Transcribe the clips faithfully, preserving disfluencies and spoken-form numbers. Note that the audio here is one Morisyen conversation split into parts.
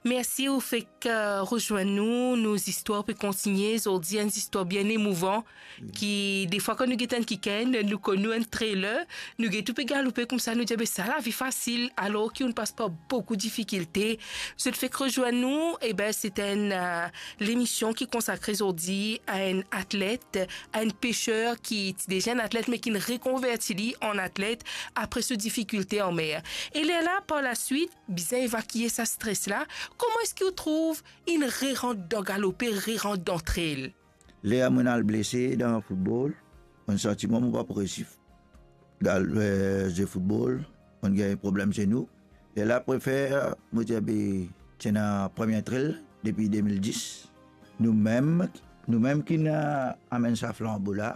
Mersi, ou fek, eh, rezwenn nou, nou zistwar pe kontigne. Zordi, enn zistwar bien emouvan, ki defwa kan nou get enn kikenn, nou konn nou enn trailer, nou get ou pe galoupe koumsa, nou dir, "Be sa lavi fasil," alor ki ou'nn pas par boukou difikilte. Zot fek rezwenn nou, e be, se enn, eh, lemision ki konsakre zordi a enn atlet, a enn peser ki ti deza enn atlet, me ki'nn rekonverti li an atlet apre so difikilte an mer. E lerla, par laswit, bizin evakie sa stres la. Kouma eski ou trouv inn rerant dan galope, rerant dan trail? Ler mo'nn al blese dan foutbol, mo'nn santi mwa mo pa pou resi gal-, eh, zwe foutbol, mo'nn gagn problem zenou. Lerla prefer, mo dir, be, ti ena premie trail depi de mil dis. Noumem, noumem ki'nn, eh, amenn sa flanbo la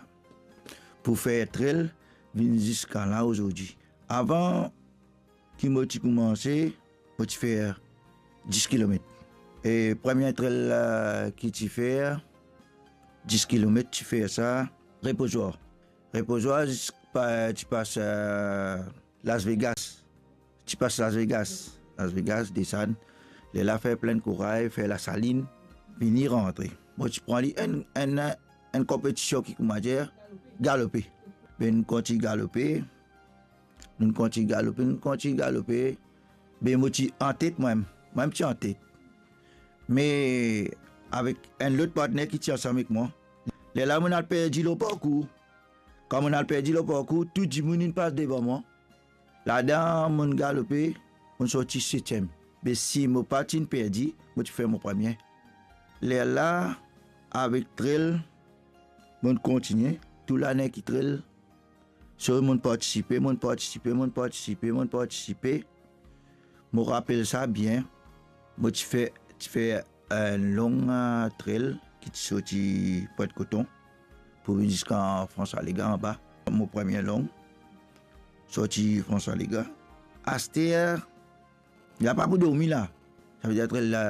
pou fer trail vinn ziska la ozordi. Avan ki mo ti koumanse, mo ti fer dis kilomet. E premie trail la ki ti fer dis kilomet, ti fer sa Repozwar. Repozwar zis pa, ti pas, eh, Las Vegas. Ti pas Las Vegas. Las Vegas, desann. Lerla fer plin kouraz, fer Lasalinn, vini rantre. Mo ti pran li enn, enn, enn konpetision ki, koumadir, galope. Be nou kontign galope. Nou kontign galope, nou kontign galope. Be mo ti antet mwa, mwa ti antet. Me avek enn lot partner ki ti ansam ek mwa. Lerla mo'nn al perdi lor parkour. Kan mo'nn al perdi lor parkour, tou dimoun inn pas devan mwa. Ladan mo'nn galope, mo'nn sorti setiem. Be si mo pa ti'nn perdi, mo ti fer mo premie. Lerla, avek trail, mo'nn kontigne, tou lane ki trail. So, mo'nn partisipe, mo'nn partisipe, mo'nn partisipe, mo'nn partisipe. Mo rapel sa bien. Mo ti fer, ti fer enn long, eh, trail ki ti sorti Pointe Coton pou vinn ziska François Legain anba. Mo premie long, sorti François Legain. Aster, la pa pou dormi la. Savedir trail la,